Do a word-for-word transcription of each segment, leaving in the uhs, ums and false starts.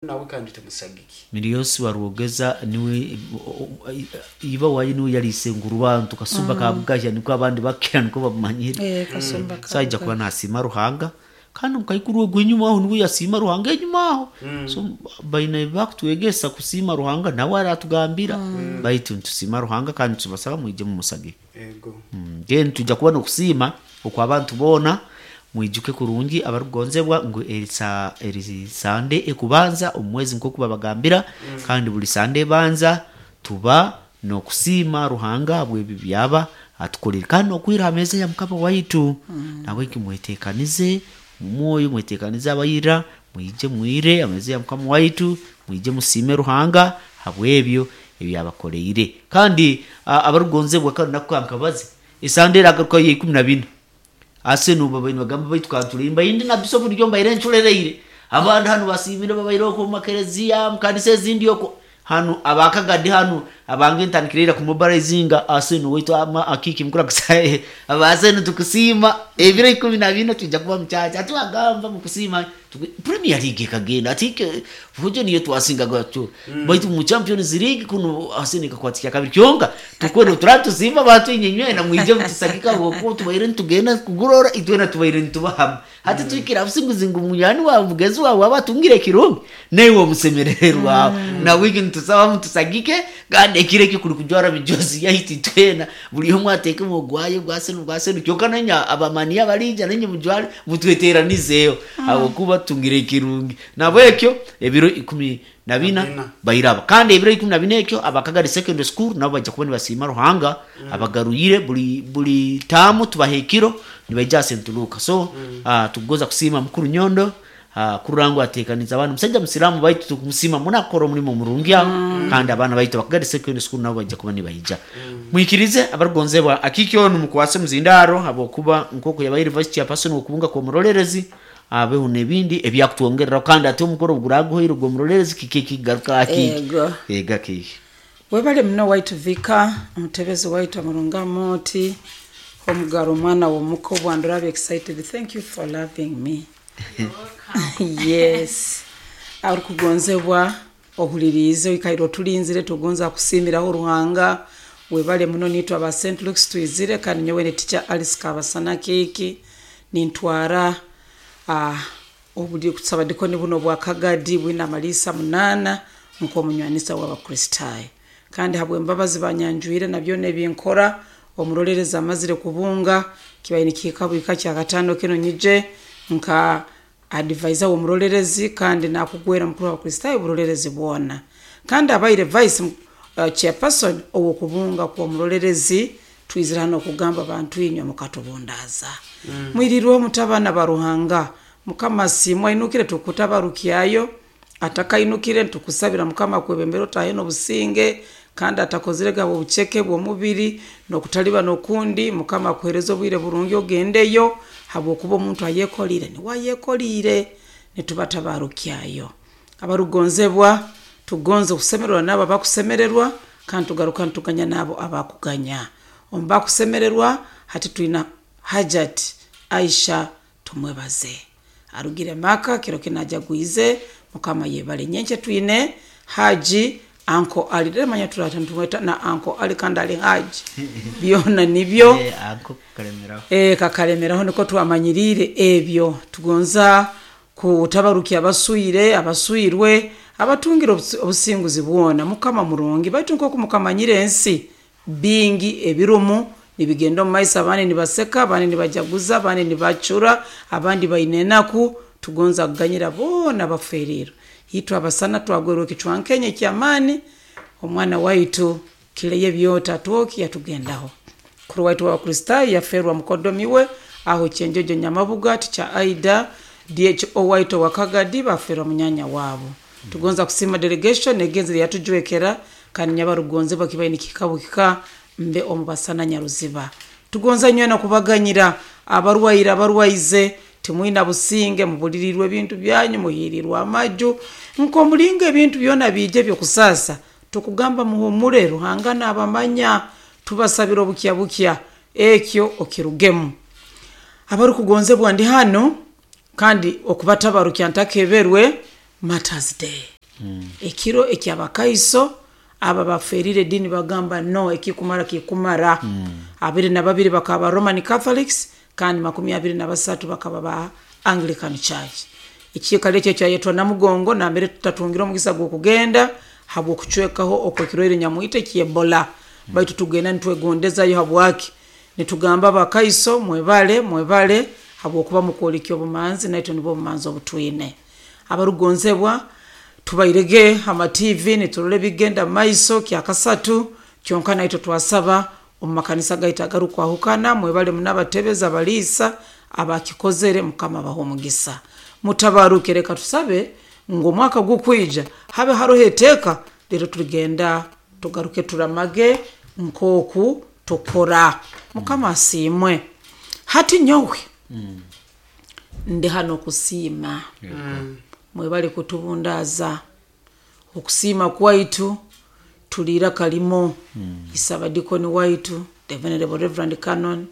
Nawe kandi tumusagike. Miliyosi warwogeza niwe iba wayi niwe yarise ngurubantu kasumba mm. kabugahya niko abandi bakira niko bamanyire. Eh, kasumba So ajja kuba nasima Ruhanga kandi mukaikuru gwenyuma aho niwe yasima Ruhanga enyuma aho. So baina bakutwegesa kusima Ruhanga nawe aratugambira mm. Baitu ntusima Ruhanga kandi tubasaba mwije mumusage. Ego. Mm, then tujja kuba nokusiima okwabantu boona mwijuke kurungi abarugonzebwa ngu erisa eri sande ekubanza omwezi nkoku babagambira mm. Kandi buli sande ebanza tuba nokusiima Ruhanga bwebi byaba atukolere kandi nokwira ameza ya Mukama waitu mm. Nawe kimwetekanize mumwoyo mwetekanize abayira mwije mwire ameza ya Mukama waitu, mwije musime Ruhanga habwebyo ebyabakoleire. Kandi abarugonzebwa kandi nakukankabaze esande eragaruka ya ikumi na bina ase nuba baino bagamba baitu kantulimba indi na biso buryo mbaire nchulereire abandi hano basimire babaire oko mu makereziya mu kanisa ezindi oko hano abakagadi hano abange ntandikirira ku mobilizinga ase nu waitu ama akiki mukura kusaye abase nu tukusima ebiro ikumi na bina tujja kuba muchacha atuagamba mukusima tuku- Premier League kagenda atike fujo niyo twasinga gwacho mm. Baitu mu Champions League kuno ase nikakwatikia kabiri kyonga tukwene turatusimba batu inyenywe na mwije mutusakika boko tubaire ntugenda kugurora itwena tubaire ntubahama hati twikira businguzingu munyani wa mugezi wawe abatungire kirungi newe omusemererwa mm. Na wiki ntusaba mutusagike kandi ekiro ekyo kuri kujwara mijozi yaitu twena buri omwe ateeke omugwayo gwasenu gwasenu kyonka nenya abamaniya barija nenye mujware mutweteranizeyo mm. Ahabwokuba tungire ekirungi nabwekyo ebiro ikumi na bina bina. bairaba kandi ebiro ikumi na bina ekyo abakagari Secondary School nabo bajja kuba nibasiima Ruhanga mm. Abagaruyire buli buli tamu tubaha ekiro nibaija sentuluka so mm. uh, tukugoza kusiima mukuru Nyondo uh, kurangu atekaniza abantu musajja musilamu baitu tukumusima munakora omulimo murungi aho mm. Kandi abaana baitu abakagari Secondary School nabo bajja kuba nibaija mm. Mwikirize abarugonzebwa akikyo numukwase muzindaro habwokuba nkoko yabaire vice chairperson okubunga kwa murolerezi abeho nebindi ebyakutwongerera kandi ate omukoro guraguhoire gwo murolerezi kike kigaruka akiki Ego. ega kiki. Webale muno waitu vika omutebezi waitu omurungamu oti omugaro omwana womuka obwandura excited. Thank you for loving me. Yes, arikugonzebwa ohuliriize oikaire otulinzire tugonza kusiimiraho Ruhanga. Webale muno nitwe aba Saint Luke's twizire kandi nyowe ne teacher Alice Kabasana keki nintwara ah, obuli kusaba dikoni buno bwa Kagadi bwina amalisa munana nk'omunywanisa w'Abakristaayo kandi habw'embabazi banyanjwire na byona ebinkora omurolereza amazire kubunga kibaire nikihika bwika kya katano kino nyije nka advisor w'omurolerezi kandi nakugwera mukuru w'Abakristaayo oburolerezi bwona kandi abaire vice uh, chairperson ow'okubunga kw'omurolerezi twizire hano okugamba abantu inywe mukatubundaza mm. Mwirirwe mutabana ba Ruhanga Mukama simwa inukire tukutabarukyayo atakainukire ntukusabira Mukama kwebembera otahe n'obusinge kandi atakozire gabo obuceke bw'omubiri n'okutaliba n'okundi Mukama akuhereza obwire burungi ogendeyo habwokuba omuntu ayekolire niwe ayekolire nitubatabarukyayo abarugonzebwa tugonze okusemererwa n'abo abakusemererwa kandi tugaruka nituganya n'abo abakuganya omu bakusemererwa hati twina Hajat Aisha tumwebaze arugire maka kiro kinajagwize Mukama yebale nyenche twine Haji anko Ali remanya turata ntumweta na anko Ali kandi ali Haji byona nibyo. Eh, ako kalemeraho. E, kakalemeraho niko twamanyirire ebyo tugonza kutabarukia abaswire abaswirwe abatungira obusi- obusinguzi bwona Mukama murungi baitu nkoku mukamanyire ensi bingi ebirumu nibigenda omu maiso abandi nibaseka abandi nibajaguza abandi nibacura abandi baine enaku tugonza kuganyira boona baferirwe itwe abasana twagwerwa ekicwankenye ekyamaani omwana waitu kileye byota twoki yatugendaho kuru waitu w'Abakristaayo yaferwa mukodomi we aho kyenjojo Nyamabuga ticha Aida D H O waitu wa Kagadi baferwa munyanya wabo tugonza kusima delegation egenzire yatujwekera kandi nyabarugonze bakibaye nikikabukika mbe omubasana Nyaruziba tugonza nywena kubaganyira abarwaire abarwaize timwina businge mubulirirwe ebintu byanyu muhirirwe amaju nkomulinga ebintu byona biije byokusasa tukugamba muhumure Ruhanga n'abamanya tubasabira obukya bukya ekyo okirugemu abarikugonzebwa ndi hano kandi okubatabarukya ntakeberwe. Martyrs Day, ekiro ekyabakaiso aba baferire edini bagamba no ekikumara kikumara. Abiri na babiri bakaba Roman Catholics, kandi makumi abiri na basatu bakaba ba Anglican Church. Ekiikaro ekyo kyayetwa Namugongo, nambere tutatungire omugisa gw'okugenda habw'okucwekaho okwekirwaire nyamwita eky'Ebola, baitu tugenda nitwegondezayo. Habwaki nitugamba abakaiso mwebale, mwebale habwokuba mukwolekya obumanzi, naitwe nibwo obumanzi obutwine. Abarugonzebwa, tubairege ama T V niturora ebigenda mumaiso kyakasatu kyonka, naitwe twasaba omu makanisa gaitu agarukwahukana. Mwebale muno abatebezi, abaliisa abakikozere, Mukama abaha omugisa. Mutabaruke. Reka tusabe ngu omwaka gukwija habe haroho eteeka, rero turigenda tugaruke turamage nk'oku tukora. Mukama asiimwe. Hati nyowe ndi hano kusiima. Mwebale kutubundaza okusiima kwaitu. Tuliira kalimo isabadikoni waitu, the Venerable Reverend Canon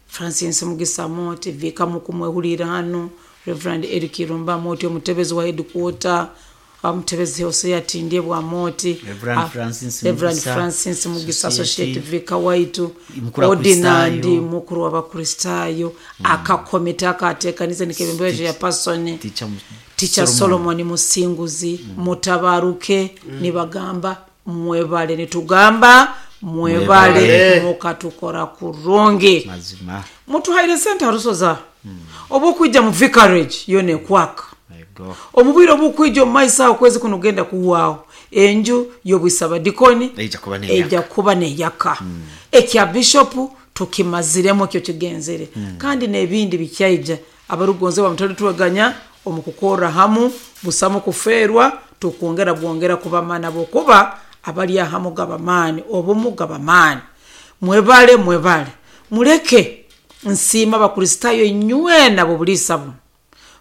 Francis Mugisa Moti, vika mukumwehulira hano, Reverend Eric Irumba Moti, omutebezi wa headquarter, omutebezi Hosea Tindye bwa Moti, Reverend ah, Francis Reverend Mugisa, Francis Mugisa, Associate, Associate Vicar waitu, Mukuru wa ordinandi Kristayo. mukuru w'Abakristaayo, akakomite akateekanize nikebembeje ya person Teacher Mu- Teacher Solomon. Solomon Musinguzi. Mutabaruke. Nibagamba mwebale, nitugamba mwebale. Mwebale. Mukatukora kurungi. Mazima. Mutuhaire sente harusoza oba okwija mu vicarage yona ekwaka. Yego. Omubwire obukwija omu maiso aho, okwezi kuno kugenda kuhwaho, enju y'obwisabadikoni Eija kuba neyaka. eija kuba neyaka. Ekya bishopu tukimaziremu, ekyo kigenzere, kandi n'ebindi bikyaija. Abarugonze bamutali tweganya omu kukorra hamu, busamu kufeerwa, tukwongera bwongera kubamana bokuba abali ahamu gabamaani, obumu gabamaani. Mwebale, mwebale. Muleke nsiima Abakristaayo inywena bobuliisa buno,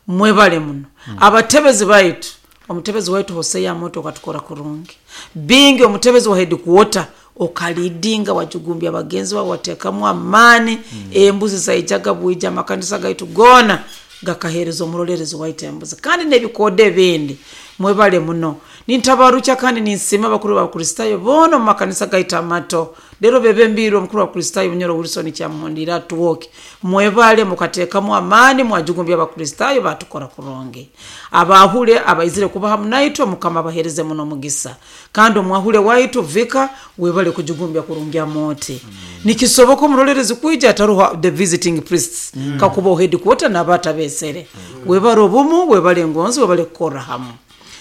mwebale muno. Abatebezi baitu, omutebezi waitu Hoseya Moto, okatukora kurungi bingi. Omutebezi wa headquarter, okalidinga, wajugumbya bagenzi bawe, watekamu amaani. Embuzi zaijaga bwija, amakanisa gaitu gona gakahereza omurolerezi waitu embuzi kandi n'ebikodo ebindi. Mwebale muno. Nintabarukya kandi ninsiima abakuru b'Abakristaayo boona omu makanisa gaitu amato. Rero bebembiirwe omukuru wa Kristaayo Munyoro Wilson Kyamuhundira atuwoke. Mwebale, mukateekamu amaani, mwajugumbya Abakristaayo batukora kurungi. Abahule abaizire kuba hamu naitwe, Mukama abahereze muno mugisa. Kandi omwahule waitu vika, webale kujugumbya kurungi amoti. Nikisoboka omurolerezi kwija ataruha the visiting priests, kakuba headquarter n'abatabesere. Webale obumu, webale engonzi, webale kukorra hamu.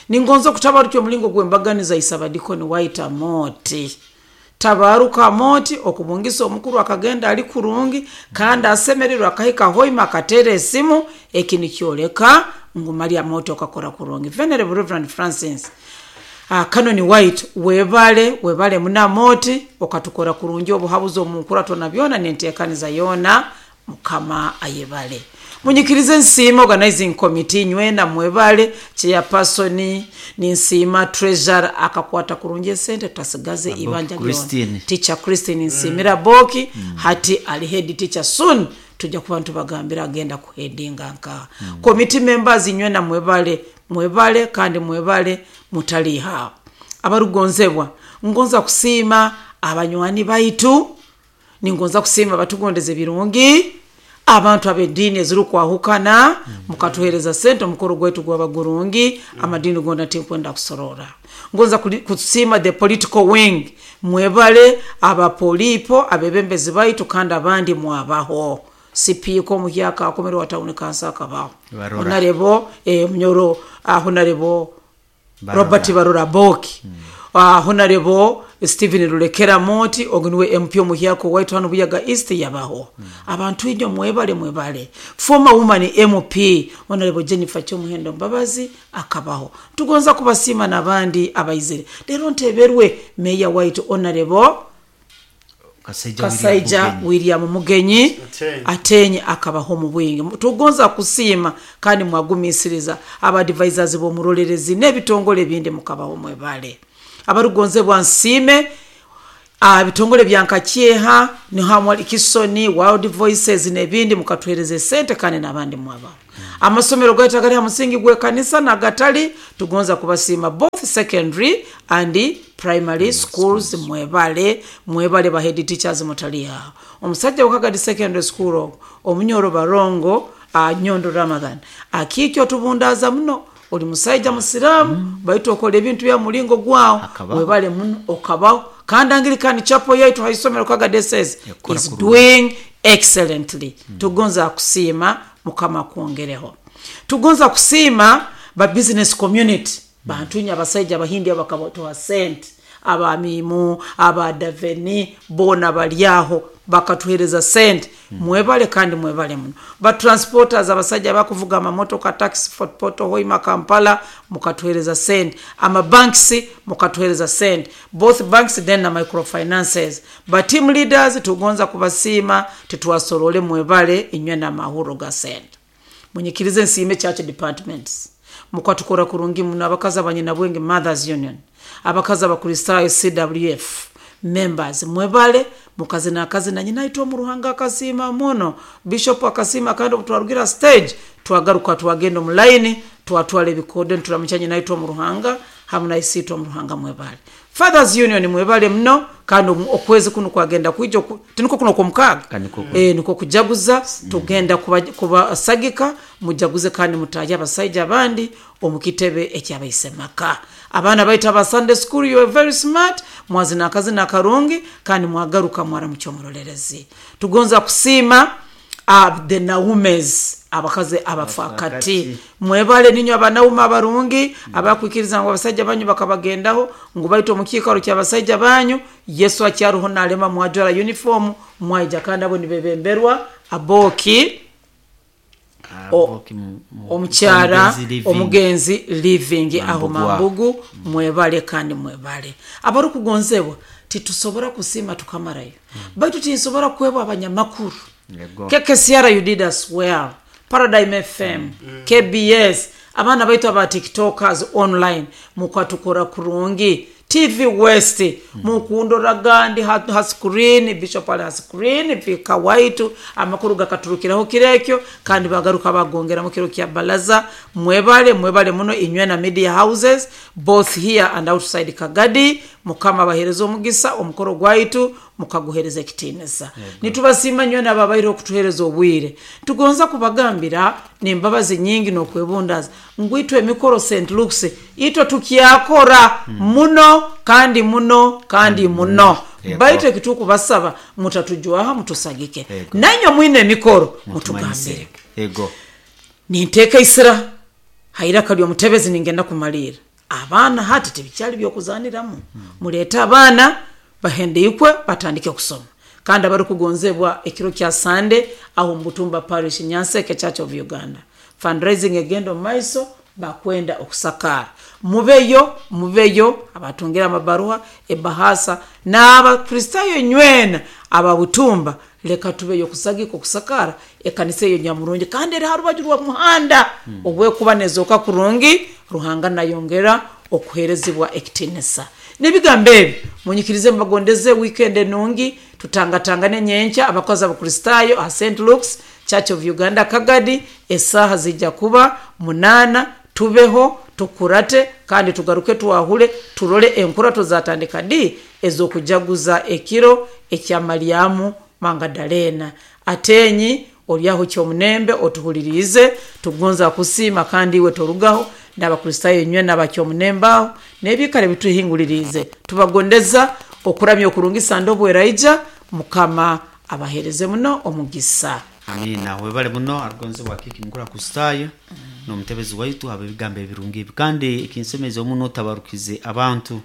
Ningonza okutabarukya omulingo gwembaganiza isabadikoni waita moti, tabaruka moti, okubungisa omukuru akagenda ali kurungi kandi asemererwa, akahika hoima akatera esimu. Eki nikyoleka ngu maria moti okakora kurungi. Venerable Reverend Francis uh, Canon White, webale, webale muna moti, okatukora kurungi. Obuhabuzi omunkurato na byona nenteekaniza yoona, Mukama ayebale. Munyikirize nsiima organizing committee nywena, mwebale. Chairperson ninsiima, treasurer akakwata kurungi esente tutasigaze ibanja lyona. Christine. Teacher Christine nsiimira boki. Hati ali head teacher, soon tujja kuba ntubagambira agenda kuhedinga nkaha. Committee members nywena mwebale, mwebale kandi mwebale, mutalihawo. Abarugonzebwa, ngonza kusiima abanywani baitu, ningonza kusiima batugondeza ebirungi, abantu ab'eddiini ezirukwahukana, mukatuhereza sente omukoro gwaitu gwaba gurungi. Amadini gona tinkwenda kusorora. Ngonza kuli- kusiima the political wing, mwebale, abapolipo abebembezi baitu kandi abandi mwabaho. Sipiika omuhyaka akomere wa town council akabaho. Barora. Honorable eh, Munyoro, uh, Honorable Barora. Robert Barora Boki, uh, Honorable Stephen Rulekera Moti, ogu niwe M P omuhyaka waitu hano Buyaga East yabaho. Abantu inyo mwebale, mwebale. Former woman M P Honorable Jennifer Kyomuhendo Mbabazi akabaho. Tugonza kubasiima n'abandi abaizire. Rero nteberwe meya waitu Honorable Kasaija. Kasaija William Mugenyi. William Mugenyi. Atenyi. Atenyi akabaho mu bwingi. Tugonza kusiima kandi mwagumisiriza abadvisors b'omurolerezi n'ebitongole ebindi mukabaho, mwebale. Abarugonzebwa, nsiime Ah, bitongole bya nkakyeha niho Kisoni World Voices n'ebindi mukatuhereza esente kandi n'abandi mwabaho. Amasomero gaitu agari ha musingi gw'ekanisa nagatali tugonza kubasiima both secondary and primary schools. Mwebale, mwebale ba head teachers mutali aho. Omusajja wakagadi secondary school ogwo omunyoro barongo uh, Nyondo Ramadhan akikyo tubundaza muno, oli musaija musiramu mm. baitu okola ebintu bya mulingo gwawo, webale muno okabaho. Kandi Anglican Chapel yaitu haisomero Kagadi says is doing excellently. mm. Tugonza kusiima, Mukama kwongereho. Tugonza kusiima ba business community bantu nya abasajja abahindi abakabatoa sente, abamimu abadaveni bona balyaho bakatuhereza sente. mm. Mwebale kandi mwebale muno. Ba transporters abasajja bakuvuga amamotoka taxi Fort Portal Hoima Kampala mukatuhereza sente. Ama banks mukatuhereza sente, both banks then na microfinances. Ba team leaders tugonza kubasiima, titwasorole, mwebale inywe na mahuro ga sente. Munyikirize nsiime church departments mukatukora kurungi muno, abakazi abanyina bwenge Mothers Union, abakazi abakristayo C W F members mwebale mukazi nakazi na nyina itwa muruhanga akasima muno, bishop akasima. Kandi obutwarugira stage twagaruka twagenda mu line twatwala ebikode nturamuchanye naitwa muruhanga hamwe na isitwa muruhanga mwebale. Fathers Union mwebale mno, kandi okwezi kuno kwagenda kwijo tiniko kuno kwa mukaga eh niko kujaguza tugenda kuba, kubasagika mujaguze kandi mutaje abasaija abandi omukitebe ekyabayisemaka. Abaana baita ba Sunday school, you are very smart, mwazina akazi na karungi kandi mwagaruka mwara mucyomurorerezi. Tugonza kusiima uh, the Naumes abakazi abafakati mwebale ninyo abanauma abarungi abakwikiriza ngo abasajja banyu bakabagendaho ngo baito mukikaro ky'abasajja banyu. Yesu akyaruho nalema mwajwara uniform mwaija kandi abo nibebemberwa aboki omukyara omugenzi living aho Mambugu. Mwebale kandi mwebale abarukugonzebwa titusobora kusima tukamarayo mm. baitu tinsobora kwebwa abanyamakuru. K K C R you did as well, Paradigm F M, mm. K B S, abaana baitu aba TikTokers online mukatukora kurungi, T V West mm. mukundora gandi ha, ha screen Bishop ali ha screen vika waitu amakuru gakaturukiraho kirekyo kandi bagaruka bagongera mu kiro kya balaza. Mwebale mwebale muno inywe na media houses both here and outside Kagadi. Mukama bahereza omugisa omukoro gwaitu mukaguhereza ekitinisa. Nitubasima nywe nababaire okutuhereza obwire. Tugonza kubagambira nembabazi nyingi nokwebundaza ngwitwe emikoro Saint Luke's itwe tukyakora mm. muno kandi muno kandi mm. muno mm. baitu ekituku basaba mutatujwaha mutusagike nanyo mwine emikoro mutugambire. Ego ninteka isira haira kali omutebezi ningenda kumalira abaana hati tebikyali byokuzaniramu. mm. Muleta abaana bahende ikwe batandike kusoma kandi abarukugonzebwa ekiro kya Sunday aho Mbutumba Parish Nyanseke Church of Uganda fundraising egendo maiso bakwenda okusakara. Mubeyo mubeyo abatungira amabaruha ebahasa n'abakristayo nywena ababutumba leka tubeyo kusagika okusakara ekanisa eyo nyamurungi kandi eri harubaju rwa muhanda mm. obwe kuba nezoka kurungi Ruhanga nayongera okuherezibwa ekitinisa. Nebigambo ebi munyikirize mbagondeze weekend enungi tutangatangane nyencha abakozi abakristayo a Saint Luke's Church of Uganda Kagadi esaha zijja kuba munana. Tubeho tukurate kandi tugaruke tuwahule turole enkurato zatandika di ezokujaguza ekiro ekya Mariamu Magdalena. Atenyi olyaho kyomunembe otuhulirize tugonza kusima kandi iwe torugaho n'abakristayo nywe n'abakyomunembaho n'ebikare bituhingulirize. Tubagondeza okuramya okurungisa ndobweraija Mukama abahereze muno omugisa. Amina. Webale muno arugonze wakiki mukura kustayo mm. n'omutebezi waitu abebigambo ebirungi kandi ekinsemeza omuno tabarukize abantu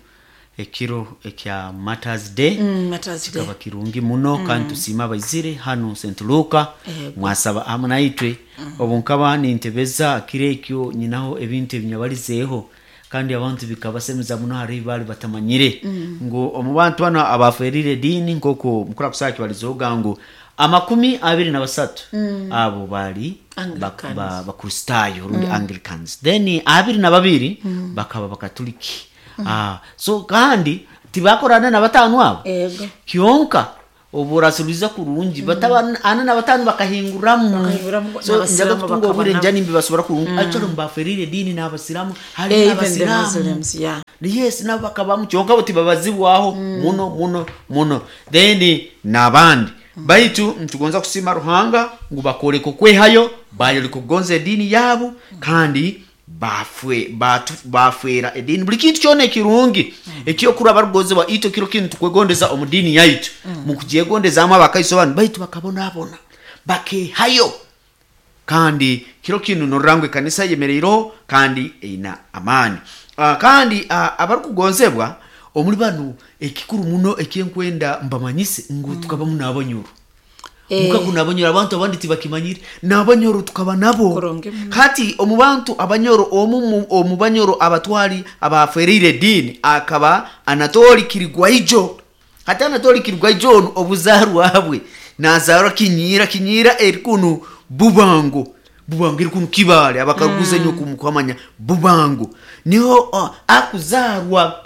ekiro ekya Martyrs Day. Mm, Martyrs Day kaba kirungi muno mm. kandi tusima abaizire hano Saint Luka mm. mwasaba hamwe naitwe mm. obunkaba nintebeza kirekyo nyinaho ebintu ebinyabalizeho kandi abantu bikabasemeza muno hari bali batamanyire mm. ngo omu bantu bano abaferire dini nkoko mukura kusaki balizoga ngo amakumi abiri na basatu mm. abo bali bakristayo ba, rundi mm. Anglicans then abiri na babiri mm. bakaba bakatoliki Ah, so kandi tibakorana na batano abo. Ego. Kyonka oburasubiza kurungi bataba ana na batano bakahinguramu. Bakahinguramu, So n'abasiramu njaga kutunga bakaba obwire nabo. nja nimbi basobora kurungi actually mbaferire dini n'abasiramu hari Eh, even the n'abasiramu. Muslims, yeah. Yes, nabo bakabamu, kyonka bo tibabazibwaho muno muno muno. Then n'abandi baitu ntugonza kusima Ruhanga ngu bakoleka okwehayo, bayoleka okugonza ediini yabo, kandi bafwe batu- bafwera ediini buli kintu kyona ekirungi ekyokurwa barugozebwa itwe kiro kinu tukwegondeza omu diini yaitu mukugyegondezaamu abakaiso banu baitu bakabonabona bakehayo. Kandi kiro kinu norora ngu ekanisa yemereireho kandi eina amaani. uh, kandi uh, abarikugonzebwa omuri banu ekikuru muno ekyenkwenda mbamanyise ngu tukabamu n'abanyoro. Eh. Mukagu n'abanyoro abantu abandi tibakimanyire, n'abanyoro tukaba nabo. Kurungi muno. Hati omu bantu abanyoro omu mu- omu banyoro abatwali abafereire ediini akaba Anatoli Kirigwaijo. Hati Anatoli Kirigwaijo onu obuzarwa bwe nazarwa Kinyira, Kinyira eri kunu Bubango, Bubango eri kunu Kibale, abakaguza mm. nyo Bubango niho uh, akuzarwa.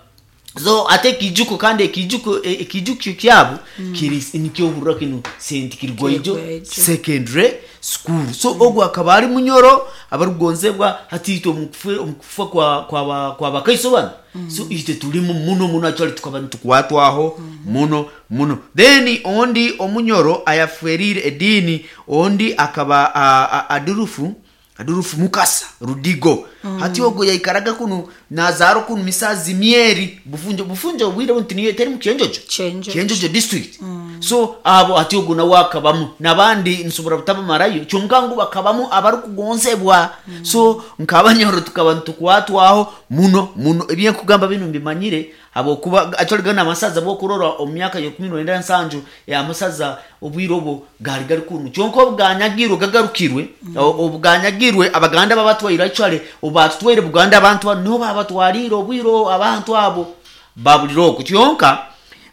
So ate ekijuko kandi ekijuko e- ekijukyo kyabo mm. kiri nikyohurra kinu Saint Kirigwaijo Kirigwaijo. Secondary School. So ogwo akaba ari munyoro abarugonzebwa. Hati itwe omukufe- omukufa kwa kwa ba- kwa bakaiso bano, so itwe tulimu muno muno, actually tukaba nitukwatwaho muno muno. Then ondi omunyoro ayaferire ediini ondi akaba a- a- adurufu adurufu Mukasa Rudigo. Hati ogwo yaikaraga kunu nazaro kunu misazi mieri Bufunjo, Bufunjo obwire bunti niyo teri mu Kyenjojo. Kyenjojo. Kyenjojo district. So abo ati ogwo nawe akabamu nabandi nsobora butabamarayo, kyonka ngu bakabamu abarikugonzebwa. So nk'abanyoro tukaba nitukwatwaho muno muno. Ebyenkugamba binu mbimanyire habwokuba actually gana amasaza bwokurora omu myaka ya kumi n'enda nsanju eh, amasaza obwire obwo gari gari kunu, kyonka obuganyagirwe gagarukirwe, o- obuganyagirwe Abaganda babatwaire, actually obatutwaire Buganda abantu bano niho babatwarire obwire abantu abo babulire okwo. Kyonka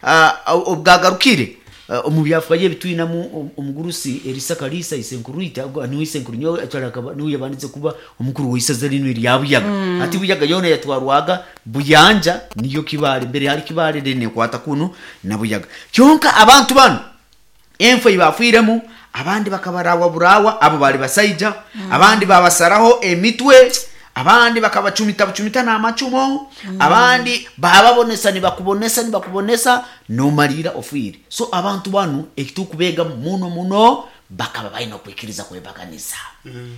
ah, obwagarukire ah, omu byafayo ebitwinamu om- omugurusi Erisa Kalisa isenkuruita niwe isenkuru nyowe actually akaba niwe yabandize kuba omukuru w'isaza rino erya Buyaga. Ati Buyaga yona yatwarwaga Buyanja, niyo Kibale mbere hari Kibale rene kwata kunu na Buyaga. Kyonka abantu bano enfo ibafwiremu, abandi bakabarawa burawa, abo bali basaija, abandi babasaraho emitwe, abandi bakabacumita bucumita n'amacumo, abandi bababonesa nibakubonesa nibakubonesa nomalira ofwire. So abantu banu ekitukubeega muno muno bakaba balina okwikiriza kwebaganiza,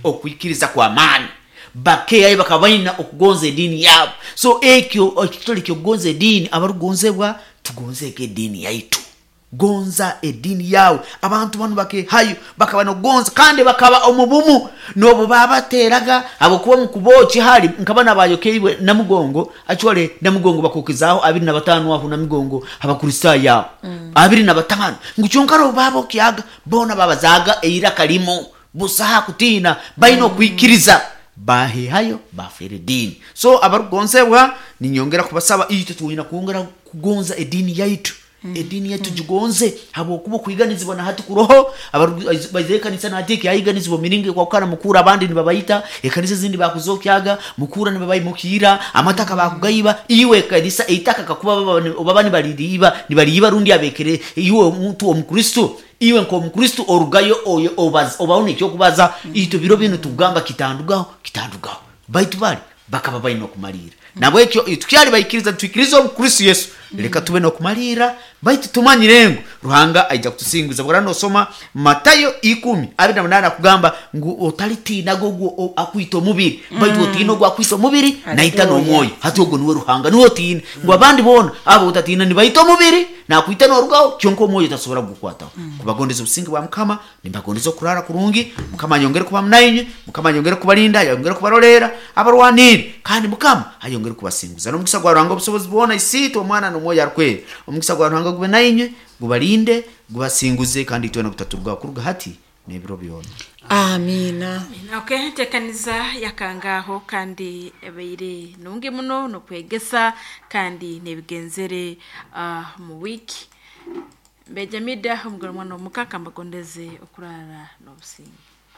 okwikiriza kw'amaani, bakeyayo bakaba balina okugonza ediini yaabo. So ekyo ekitole kyokugonza ediini, abarugonzebwa tugonzeeko ediini yaitu, gonza ediini yawe. Abantu banu bakehayo bakaba nokugonza kandi bakaba omubumu nobu babateraga habwokuba mukuboki hali nkaba nabayokeibwe Namugongo, actually Namugongo bakokezaho abiri na batano aho Namugongo abakristaayo abo abiri na batano ngu kyonka robo babokyaga bona babazaga eiraka limu busaha kutiina balina okwikiriza bahehayo bafera ediini. So abarugonzebwa ninyongera kubasaba itwe twina kwongera kugonza ediini yaitu, ediini yaitu gigonze habwokuba okwiganizibwa nahati kuroho baizire ekanisa nahati ekyayiganizibwa miringo ekwakukana mukura abandi nibabayita ekanisa ezindi bakuzokyaga mukura nibabaimukira amataka bakugayiba iwe ekanisa eitaka kakuba baba- baba nibaliriiba nibaliiba rundi abekere iwe omuntu omukristo iwe nk'omukristo orugayo oyo obaza- obaho nekyokubaza itwe biro binu tugamba kitandugaho kitandugaho baitu bali bakaba balina okumalira nabwekyo tukyali baikiriza twikiriza omukristo Yesu, leka tube n'okumalira baitu tumanyire ngu Ruhanga aija kutusinguza. Bwara nosoma Matayo ikumi abiri na munana akugamba ngu otalitiinaga ogwo o- akwita omubiri, baitu otiina ogwo akwita omubiri naita Haleluya. n'omwoyo. Hati ogwo niwe Ruhanga niwe otiina, ngu abandi boona abo otatiina nibaita omubiri nakwita n'orugaho, kyonka omwoyo tasobora kugukwataho. Kubagondeza obusinge bwa Mukama, nimbagondeza okurara kurungi. Mukama ayongere kuba munainywe, Mukama ayongere kubalinda, ayongere kubarolera abarwanire, kandi Mukama ayongere kubasinguza n'omukisa gwa Ruhanga obusobozi bwona, Isiitwe, Omwana n'Omwoyo Arukwera. Omukisa gwa Ruhanga gube nainywe, gubalinde, gubasinguze, kandi itwena gutaturugaho kuruga hati n'ebiro byona. Amina. Okay, ntekaniza yakangaho kandi ebaire nungi muno nokwegesa kandi nebigenzere uh, mu wiki mbejamida omugore mwana omukaka mbagondeze okurara n'obusinge.